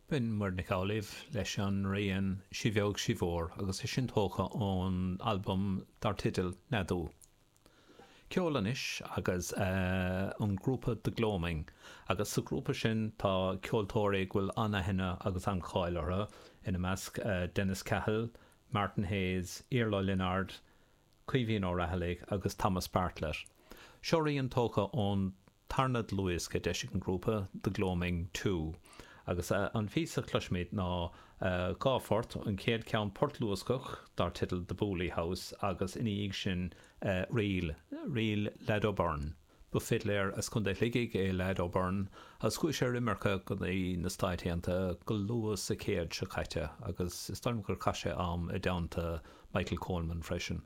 B'in Muireann Nic Amhlaoibh leis an rian 'Sí Bheag Sí Mhór' agus é sin tógtha ón albam dar teideal Neadú. Ceol anois agus an grúpa The Gloaming agus sa ghrúpa sin tá ceoltóirí go bhfuil an-aithne agus an-cháil orthu, ina measc Dennis Cahill, Martin Hayes, Iarla Lynard, Caoimhín Ó Raghallaigh agus Thomas Bartlett. Seo rian tógtha ón tarna dlúthdhiosca a d'eisigh an grúpa, The Gloaming Two, agus an phíosa a chloisfimid ná dhá phort, an chéad cheann port luascach dar teideal The Booley House agus ina dhiaidh sin ríl, ríl Leaid O'Byrne. Ba fidléir as Contae Shligigh é Leaid O'Byrne agus chuaigh sé ar imirce go dtí na Stáit Aontaithe go luath sa chéad seo caite agus is dóigh liom gur chaith sé am i dteannta Michael Coleman freisin.